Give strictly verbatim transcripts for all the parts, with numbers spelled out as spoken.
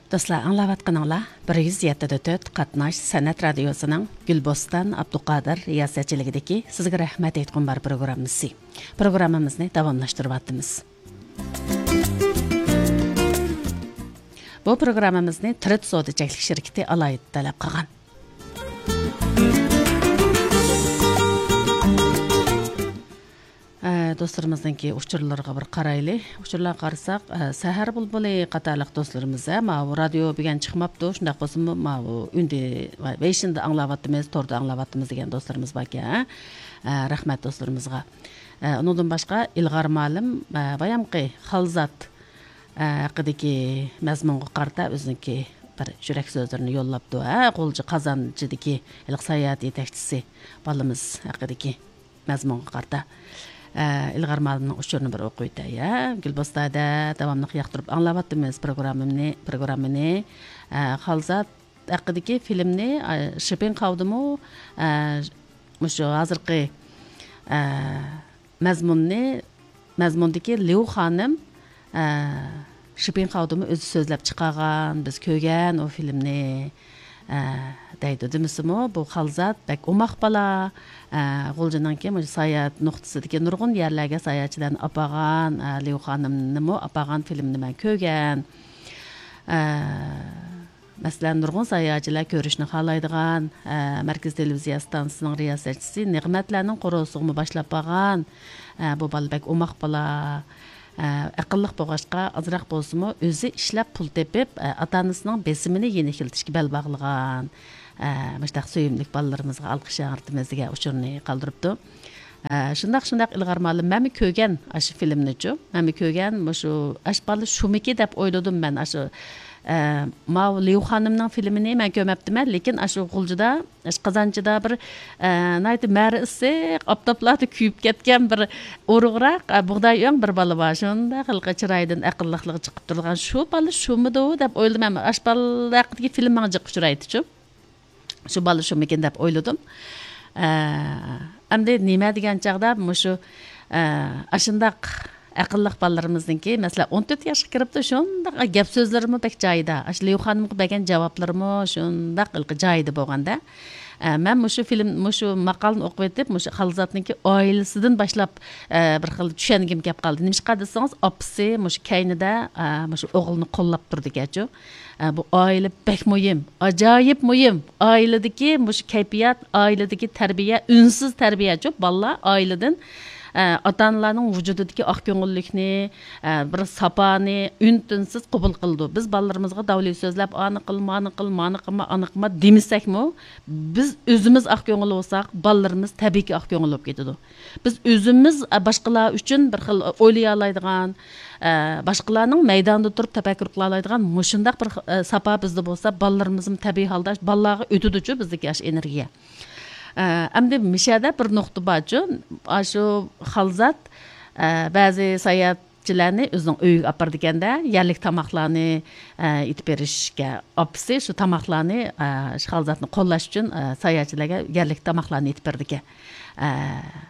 دوستلار، ئاڭلاۋاتقىنىڭلار بىر يۈز يەتتە دە تۆت قاتناش سەنئەت رادىيوسىنىڭ گۈلبوستان ئابدۇقادىر رىياسەتچىلىكىدىكى سىزگە رەھمەت ئېيتقۇم بار پروگراممىسى. پروگراممىمىزنى داۋاملاشتۇرۇۋاتىمىز. بۇ پروگراممىمىزنى تىرىت سودا چەكلىك شىركىتى ئالاھىدە تەلەپ قىلغان. ئە، دوستلىرىمىزنىڭكى ئۇچۇرلىرىغا بىر قارايلى. ئۇچۇرلارغا قارىساق، ئە، سەھەر بۇلبۇلى قاتارلىق دوستلىرىمىز، ئە، ماۋۇ رادىيو بۈگۈن چىقماپتۇ، شۇنداق بولسىمۇ ماۋۇ ئۈندى ۋەيشىندە ئاڭلاۋاتىمىز، توردا ئاڭلاۋاتىمىز دېگەن دوستلىرىمىز باركەن، ئە، رەھمەت دوستلىرىمىزغا. ئە، ئۇنىڭدىن باشقا ئىلغار مالىم، ئە، بايامقى خالزات، ئە، ھەققىدىكى مەزمۇنغا قارىتا ئۆزىنىڭكى بىر يۈرەك سۆزلىرىنى يوللاپتۇ. ھە، غۇلجا قازانچىدىكى ھېلىقى ساياھەت يېتەكچىسى بالىمىز ھەققىدىكى مەزمۇنغا قارىتا، ئە، ئىلغار مالىمنىڭ ئۇچۇرىنى بىر ئوقۇۋېتەي، ھە. گۈلبوستانىدا داۋاملىق ياقتۇرۇپ ئاڭلاۋاتىمىز پروگراممىنى، پروگراممىنى، ئە، خالزات ھەققىدىكى فىلىمنى، ئە، شىپىڭ قاۋدىمۇ، ئە، مۇشۇ ھازىرقى، ئە، مەزمۇننى، مەزمۇندىكى ليۇ خانىم، ئە، شىپىڭ خاۋدىمۇ ئۆزى سۆزلەپ چىقارغان، بىز كۆرگەن ئۇ فىلىمنى، ئە، دەيدۇ. دېمىسىمۇ، بۇ خالزات بەك ئوماق بالا. ئە، غۇلجىنىڭكى مۇشۇ ساياھەت نۇقتىسىدىكى نۇرغۇن يەرلەرگە ساياھەتچىلەرنى ئاپارغان، ئە، ليۇ خانىمنىمۇ ئاپارغان فىلىمنى مەن كۆرگەن. ئە، مەسىلەن، نۇرغۇن ساياھەتچىلەر كۆرۈشنى خالايدىغان، ئە، مەركىزىي تېلېۋىزىيە ئىستانسىسىنىڭ رىياسەتچىسى نېمەتلەرنىڭ قورۇسىغىمۇ باشلاپ بارغان. ئە، بۇ بالا بەك ئوماق بالا، ئە، ئەقىللىق بولغاچقا، ئازراق بولسىمۇ ئۆزى ئىشلەپ پۇل تېپىپ، ئە، ئاتا-ئانىسىنىڭ بېسىمىنى يېنىكلىتىشكە بەل باغلىغان، ئە، مۇشۇنداق سۆيۈملۈك بالىلىرىمىزغا ئالقىش ياڭرىتىمىز دېگەن ئۇچۇرنى قالدۇرۇپتۇ. ئە، شۇنداق، شۇنداق، ئىلغار مالىم، مەنمۇ كۆرگەن ئاشۇ فىلىمنىچۇ. مەنمۇ كۆرگەن، مۇشۇ ئاش بالا شۇمىكى دەپ ئويلىدىم مەن. ئاشۇ، ئە، ماۋۇ ليۇ خانىمنىڭ فىلىمىنى مەن كۆرمەپتىمەن، لېكىن ئاشۇ غۇلجىدا، ئاشۇ قازانچىدا بىر، ئە، ناھايىتى مەرى ئىسسىق، ئاپتاپلاردا كۆيۈپ كەتكەن بىر ئورۇقراق، ئە، بۇغداي ئۆڭ بىر بالا بار. شۇنداق ھېلىقى چىرايىدىن ئەقىللىقلىقى چىقىپ تۇرىدىغان شۇ بالا شۇمىدۇ دەپ ئويلىدىم. ئەمما ئاش بالا ھەققىدىكى فىلىم ماڭا جىق ئۇچرايدىچۇ. شۇ بالا شۇمىكىن دەپ ئويلىدىم. ئە، ئەمدى نېمە دېگەن چاغدا مۇشۇ، ئە، ئاشۇنداق ئەقىللىق بالىلىرىمىزنىڭكى، مەسىلەن، ئون تۆت ياشقا كىرىپتۇ، شۇنداق گەپ سۆزلىرىمۇ بەك جايىدا. ئاشۇ ليۇ خانىمغا بەرگەن جاۋابلىرىمۇ شۇنداق ھېلىقى جايىدا بولغاندا. ئە، مەن مۇشۇ فىلىم، مۇشۇ ماقالىنى ئوقۇۋېتىپ، مۇشۇ خالزاتنىڭكى ئائىلىسىدىن باشلاپ، ئە، بىر خىل چۈشەنگۈم كەپ قالدى. نېمىشقا دېسىڭىز، ئاپىسى مۇشۇ كەينىدە، ئە، مۇشۇ ئوغلىنى قوللاپ تۇرىدىكەنچۇ. ئە، بۇ ئائىلە بەك مۇھىم، ئاجايىپ مۇھىم. ئائىلىدىكى مۇشۇ كەيپىيات، ئائىلىدىكى تەربىيە، ئۈنسىز تەربىيەچۇ. بالىلار ئائىلىدىن، ئە، ئاتا-ئانىلارنىڭ ۋۇجۇدىدىكى ئاق كۆڭۈللۈكنى، ئە، بىر ساپانى ئۈن-تىنسىز قوبۇل قىلىدۇ. بىز بالىلىرىمىزغا داۋلى سۆزلەپ، «ئانى قىل، مانى قىل، مانى قىلما، ئانى قىلما» دېمىسەكمۇ، بىز ئۆزىمىز ئاق كۆڭۈل بولساق، بالىلىرىمىز تەبىئىيكى ئاق كۆڭۈل بولۇپ كېتىدۇ. بىز ئۆزىمىز، ئە، باشقىلار ئۈچۈن بىر خىل ئويلىيالايدىغان، ئە، باشقىلارنىڭ مەيدانىدا تۇرۇپ تەپەككۇر قىلالايدىغان مۇشۇنداق بىر، ئە، ساپا بىزدە بولسا، بالىلىرىمىزمۇ تەبىئىي ھالدا بالىلارغا ئۆتىدۇچۇ بىزدىكى ئاشۇ ئېنېرگىيە. ئە، ئەمدى مىشەدە بىر نۇقتا بارچۇ، ئاشۇ خالزات، ئە، بەزى ساياھەتچىلەرنى ئۆزىنىڭ ئۆيىگە ئاپىرىدىكەندە، يەرلىك تاماقلارنى، ئە، ئېتىپ بېرىشكە، ئاپىسى شۇ تاماقلارنى، ئە، شۇ خالزاتنى قوللاش ئۈچۈن، ئە، ساياھەتچىلەرگە يەرلىك تاماقلارنى ئېتىپ بېرىدىكەن. ئە،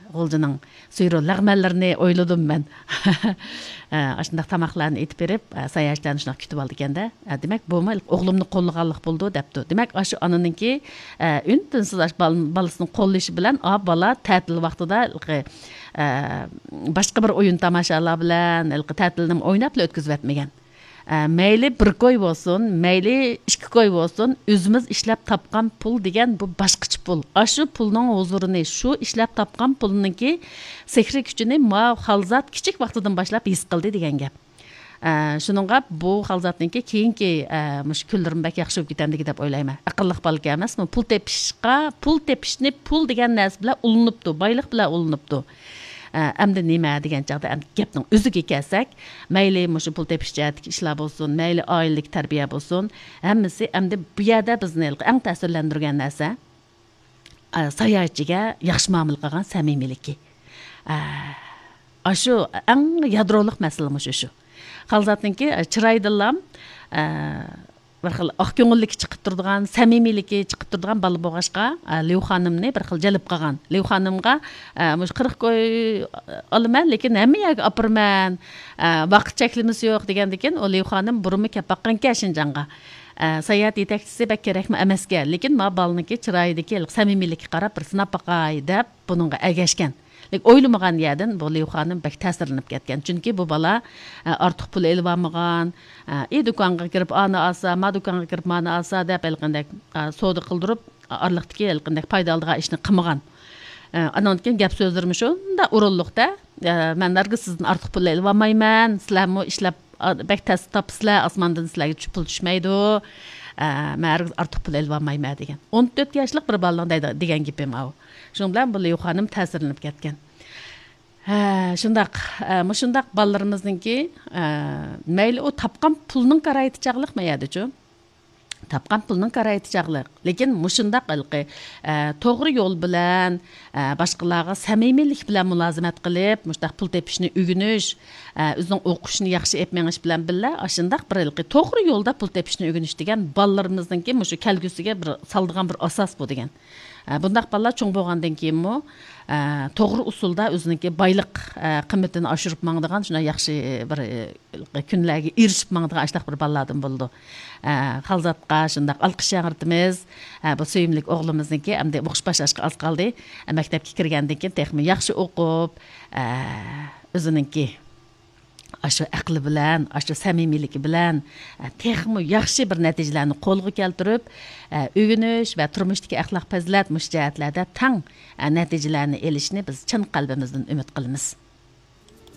غۇلجىنىڭ سۈيرۇ لەغمەنلىرىنى ئويلىدىم مەن. ئە، ئاشۇنداق تاماقلارنى ئېتىپ بېرىپ، ئە، ساياھەتچىلەرنى شۇنداق كۈتۈۋالىدىكەندە، ئە، دېمەك، بۇمۇ ئوغلۇمنى قوللىغانلىق بولىدۇ دەپتۇ. دېمەك، ئاشۇ ئانىنىڭكى، ئە، ئۈن-تىنسىز ئاشۇ بال-، بالىسىنىڭ قوللىشى بىلەن، ئا، بالا تەتىل ۋاقتىدا، ئە، باشقا بىر ئويۇن تاماشالار بىلەن، تەتىلنى ئويناپلا ئۆتكۈزۈۋەتمىگەن. ئە، مەيلى بىر كوي بولسۇن، مەيلى ئىككى كوي بولسۇن، ئۆزىمىز ئىشلەپ تاپقان پۇل دېگەن بۇ باشقىچە پۇل. ئاشۇ پۇلنىڭ ھۇزۇرىنى، شۇ ئىشلەپ تاپقان پۇلنىڭكى سېھرىي كۈچىنى ماۋۇ خالزات كىچىك ۋاقتىدىن باشلاپ ھېس قىلدى دېگەن گەپ. ئە، شۇنىڭغا بۇ خالزاتنىڭكى كېيىنكى، ئە، مۇشۇ كۈنلىرىمۇ بەك ياخشى بولۇپ كېتەمدىكى دەپ ئويلايمەن. ئەقىللىق بالىكەن ئەمەسمۇ؟ پۇل تېپىشقا، پۇل تېپىشنى پۇل دېگەن نەرسە بىلەن ئۇلىنىپتۇ، بايلىق بىلەن ئۇلىنىپتۇ. ئە، ئەمدى نېمە دېگەن چاغدا، ئەمدى گەپنىڭ ئۆزىگە كەلسەك، مەيلى مۇشۇ پۇل تېپىش جەھەتتىكى ئىشلار بولسۇن، مەيلى ئائىلىدىكى تەربىيە بولسۇن، ھەممىسى ئەمدى بۇ يەردە بىزنى ئەڭ تەسىرلەندۈرگەن نەرسە، ئە، ساياھەتچىگە ياخشى مۇئامىلە قىلغان سەمىمىيلىكى. ئە، ئاشۇ ئەڭ يادرولۇق مەسىلە مۇشۇ شۇ. خالزاتنىڭكى، ئە، چىرايىدىنلام، ئە، بىر خىل ئاق كۆڭۈللۈكى چىقىپ تۇرىدىغان، سەمىمىيلىكى چىقىپ تۇرىدىغان بالا بولغاچقا، ئە، ليۇ خانىمنى بىر خىل جەلپ قىلغان. ليۇ خانىمغا، ئە، مۇشۇ قىرىق كوي ئالىمەن، لېكىن ھەممە يەرگە ئاپىرىمەن، ئە، ۋاقىت چەكلىمىسى يوق دېگەندىكىن، ئۇ ليۇ خانىم بۇرۇنمۇ كەپ باققانكەن شىنجاڭغا. ئە، ساياھەت يېتەكچىسى بەك كېرەكمۇ ئەمەسكەن، لېكىن ما بالىنىڭكى چىرايىدىكى سەمىمىيلىككە قاراپ بىر سىناپ باقاي دەپ بۇنىڭغا ئەگەشكەن. لېكىن ئويلىمىغان يەردىن بۇ ليۇ خانىم بەك تەسىرلىنىپ كەتكەن. چۈنكى بۇ بالا، ئە، ئارتۇق پۇل ئېلىۋالمىغان، ئە، ئى دۇكانغا كىرىپ ئانى ئالسا، ما دۇكانغا كىرىپ مانى ئالسا دەپ ھېلىقىندەك، ئە، سودا قىلدۇرۇپ، ئارىلىقتىكى ھېلىقىندەك پايدا ئالىدىغان ئىشنى قىلمىغان. ئە، ئانىڭدىن كېيىن گەپ سۆزلىرىمۇ شۇنداق ئورۇنلۇقتا، ئە، مەن ھەرگىز سىزدىن ئارتۇق پۇل ئېلىۋالمايمەن، سىلەرمۇ ئىشلەپ، ئا، بەك تەس تاپىسىلەر، ئاسماندىن سىلەرگە چۈ-، پۇل چۈشمەيدۇ، ئە، مەن ھەرگىز ئارتۇق پۇل ئېلىۋالمايمەن دېگەن. ئون تۆت ياشلىق بىر بالىنىڭ دەيدۇ-، دېگەن گېپى ماۋۇ. شۇنىڭ بىلەن بۇ ليۇ خانىم تەسىرلىنىپ كەتكەن. ھە، شۇنداق. ئە، مۇشۇنداق بالىلىرىمىزنىڭكى، ئە، مەيلى ئۇ تاپقان پۇلنىڭ كارايىتى چاغلىق ما يەردىچۇ؟ تاپقان پۇلنىڭ كارايىتى چاغلىق. لېكىن مۇشۇنداق ھېلىقى، ئە، توغرا يول بىلەن، ئە، باشقىلارغا سەمىمىيلىك بىلەن مۇلازىمەت قىلىپ، مۇشۇنداق پۇل تېپىشنى ئۆگىنىش، ئە، ئۆزىنىڭ ئوقۇشىنى ياخشى ئېلىپ مېڭىش بىلەن بىللە، ئاشۇنداق بىر ھېلىقى توغرا يولدا پۇل تېپىشنى ئۆگىنىش دېگەن بالىلىرىمىزنىڭكى مۇشۇ كەلگۈسىگە بىر سالىدىغان بىر ئاساس بۇ دېگەن. ئە، بۇنداق بالىلار چوڭ بولغاندىن كېيىنمۇ، ئە، توغرا ئۇسۇلدا ئۆزىنىڭكى بايلىق، ئە، قىممىتىنى ئاشۇرۇپ ماڭىدىغان، شۇنداق ياخشى بىر، ئە، كۈنلەرگە ئېرىشىپ ماڭىدىغان ئاشۇنداق بىر بالىلاردىن بولىدۇ. ئە، خالزاتقا شۇنداق ئالقىش ياڭرىتىمىز. ئە، بۇ سۆيۈملۈك ئوغلىمىزنىڭكى ئەمدى ئوقۇش باشلاشقا ئاز قالدى. ئە، مەكتەپكە كىرگەندىن كېيىن تېخىمۇ ياخشى ئوقۇپ، ئە، ئۆزىنىڭكى ئاشۇ ئەقلى بىلەن، ئاشۇ سەمىمىيلىكى بىلەن، ئە، تېخىمۇ ياخشى بىر نەتىجىلەرنى قولغا كەلتۈرۈپ، ئە، ئۆگىنىش ۋە تۇرمۇشتىكى ئەخلاق پەزىلەت مۇشۇ جەھەتلەردە تەڭ، ئە، نەتىجىلەرنى ئېلىشىنى بىز چىن قەلبىمىزدىن ئۈمىد قىلىمىز.